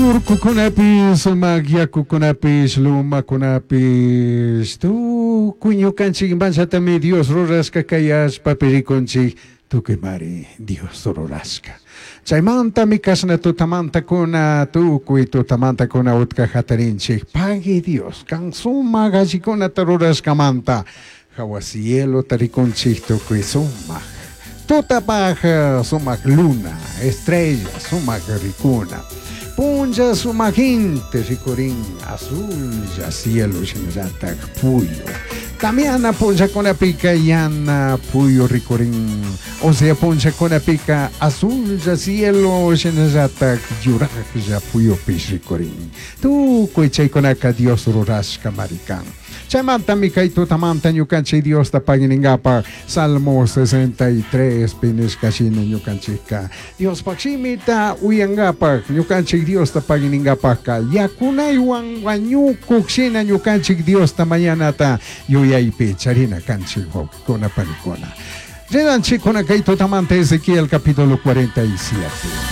Urcucunapish, sumac yacucunapish, lumacunapish, tucui ñucanchic manchatami Dios rurashca cai allpapi ricunchic, tucuimari Dios rurashca. Chaimantami cashna tutamantacuna, tucui tutamantacuna utca jatarinchic, pagui Dios, can sumac allicunata rurashcamanta, jahua cielota ricunchic tucui sumac. Tutapaj sumac luna, estrella sumac ricuna. Punlla sumac inti ricurin, azulla cielo shinallataj puyu. Tamiana punllacunapica yana puyu ricurin, o sea punllacunapica azulla cielo shinallataj yurajlla puyupish ricurin. Tucui chaicunaca Dios rurashcamari can. Chaimantami cai tutamanta ñucanchic Diosta pagui ningapaj Salmo 63 pi nishca shina ñucanchicca Diospaj shimita uyangapaj ñucanchic Diosta pagui ningapajca yacunaihuan huañucuj shina ñucanchic Diosta mañanata yuyaipi charina canchic, huauquicuna panicuna. Rinanchiccuna cai tutamanta Ezequiel capítulo 47.